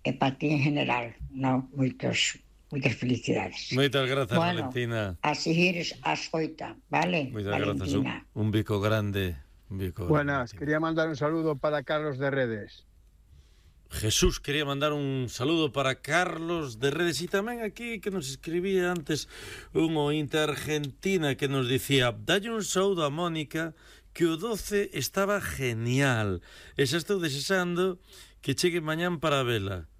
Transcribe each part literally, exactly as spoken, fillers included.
e para ti en general, no, moitos, moitas felicidades. Moitas grazas, bueno, Valentina. a seguir as oita, vale, Moitas Valentina. grazas, un, un bico grande. Un bico Buenas, grande. quería mandar un saludo para Carlos de Redes. Jesús quería mandar un saludo para Carlos de Redes e tamén aquí que nos escribía antes un ointe argentina que nos dicía dalle un saúdo a Mónica que o doce estaba genial e xa estou desexando que chegue mañán para vela.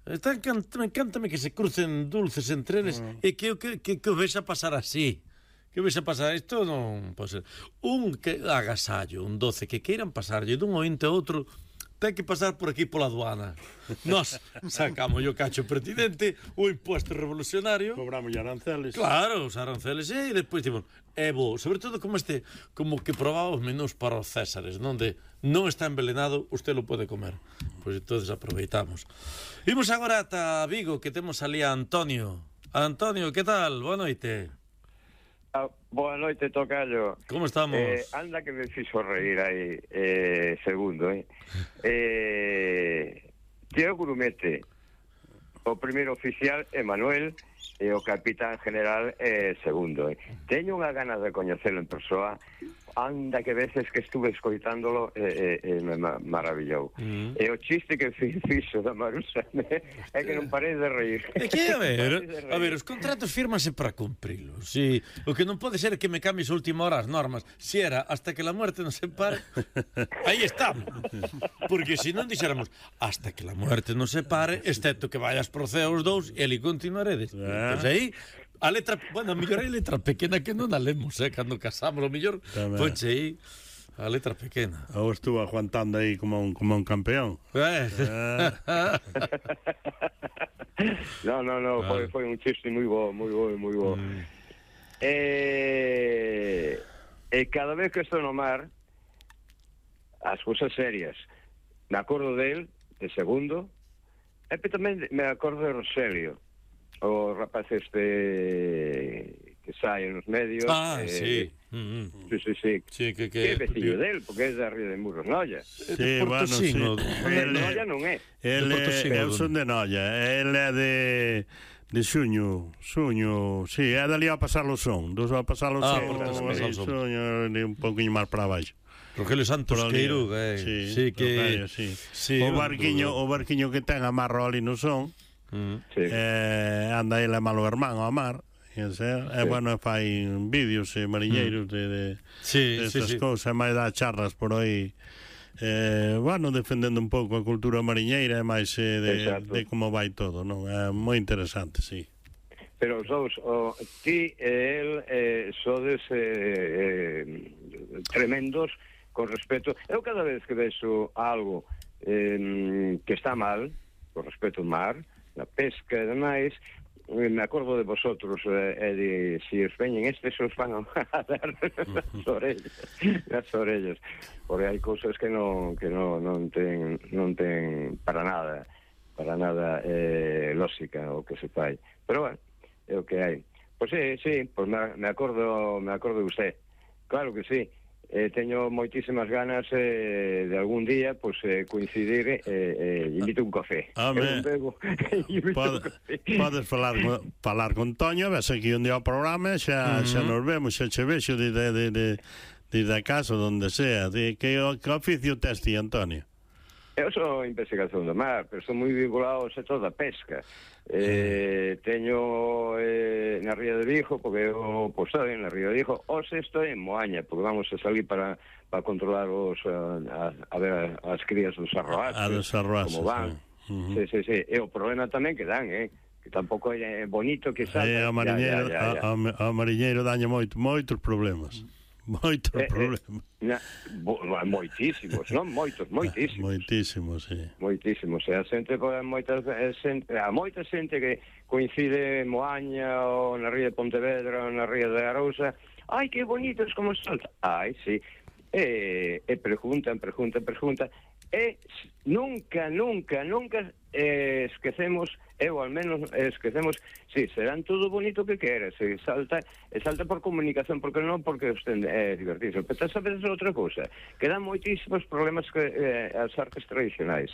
Está encant, encántame que se crucen dulces entre eles mm. e que, que, que, que o vexa pasar así. Que o vexa pasar, isto non pode ser. Un que agasallo, un doce que queiran pasarlle dun ointe a outro ten que pasar por aquí pola aduana. Nos sacamos o cacho pertinente, o impuesto revolucionario. Cobramos aranceles. Claro, os aranceles, e depois, tipo, é bo, sobre todo como este, como que probaba os menús para os Césares, onde non está envenenado, usted lo pode comer. Pois entonces aproveitamos. Imos agora ata Vigo, que temos ali a Antonio. Antonio, que tal? Boa noite. Ah, boa noite, tocayo. Como estamos? Eh, anda que me fixo reír aí, eh, segundo, eh. eh Tío Grumete, o primeiro oficial é Manuel, e o capitán general é segundo, eh. Teño unha ganas de coñecelo en persoa, anda que veces que estuve escoitándolo e eh, eh, me ma maravillou. Mm. E o chiste que fixo da Marusa é que non parei de reír. É que, a ver, a ver, os contratos fírmanse para cumprilos. Si, o que non pode ser é que me cambies a última hora as normas. Si era hasta que la muerte nos separe, aí estamos. Porque se non dixéramos hasta que la muerte nos separe, excepto que vayas pro ceo os dous, e ali continuaredes. Ah. Pois aí a letra, bueno, a mellor hai letra pequena que non a lemos, eh, cando casamos, o mellor ponche aí a letra pequena. Ou estuvo aguantando aí como un, como un campeón. Eh. Ah. No, no, no, ah. foi, foi un chiste moi bo, moi bo, moi bo. Mm. Eh, e cada vez que estou no mar, as cousas serias, me acordo del, de segundo, e tamén me acordo de Roselio, o rapaz este que sai nos medios. Ah, eh, sí. Mm-hmm. Sí, sí, sí. Sí, que, que... que é vecino del, porque é de Río de Murros, Noia. Sí, bueno, sí. El, Noia non é. El é, eu son de Noia. El é de... de Xuño, Xuño, sí, é dali a pasar o son, dos a pasar o ah, son, o Xuño, un pouquinho máis para baixo. Rogelio Santos Queiro, eh, sí, sí, que Rogelio, sí. Sí, o barquiño, o barquiño que ten amarro ali no son. Mm. Sí. Eh, anda ele malo hermano a mar, e sea, sí. eh, bueno, fai vídeos e mariñeiros mm. de, de, sí, de estas sí, cousas, sí. máis dá charlas por aí, eh, bueno, defendendo un pouco a cultura mariñeira e máis eh, de, de como vai todo, non? É moi interesante, sí. Pero os dous, o, ti e el eh, sodes eh, eh, tremendos con respecto. Eu cada vez que vexo algo eh, que está mal con respecto ao mar, na pesca e demais, me acordo de vosotros e eh, de si os veñen estes os van a dar nas orellas, nas orellas, porque hai cousas que non que non non ten non ten para nada, para nada eh, lógica o que se fai. Pero bueno, é o que hai. Pois sí, sí, pois me, me acordo, me acordo de usted. Claro que sí. Eh, teño moitísimas ganas eh, de algún día pues, eh, coincidir e eh, eh, invito un café. Home, Pod, podes falar, falar con Toño, ves aquí un día ao programa, xa, uh -huh. xa nos vemos, xa che vexo de, de, de, de, de, de casa, donde sea. De, que, que oficio tes ti, Antonio? Eu sou investigación do mar, pero estou moi vinculado ao sector da pesca. Eh, teño eh, na Ría de Vigo, porque eu pues, estou na Ría de Vigo, ou se estou en Moaña, porque vamos a salir para, para controlar os, a, a ver as crías dos arroaces, a dos arroaces, como van. Sí. Uh -huh. sí, sí, sí. E o problema tamén que dan, eh? que tampouco é bonito que salga. Eh, a mariñeiro, ya, ya, ya. A, a, a mariñeiro daña moito, moitos problemas. Moitos eh, problemas. Eh, na, bo, moitísimos, non? Moitos, moitísimos. Moitísimos, sí. Moitísimos. E a xente, moitas, a moita xente que coincide en Moaña ou na ría de Pontevedra ou na ría de Arousa, ai, que bonitos como salta. Ai, sí. E, e preguntan, preguntan, preguntan. E nunca, nunca, nunca eh, esquecemos, eu al menos esquecemos, si, sí, serán todo bonito que queres, se salta, e salta por comunicación, porque non porque usted é eh, divertirse, pero sabes outra cousa, que dan moitísimos problemas que eh, as artes tradicionais.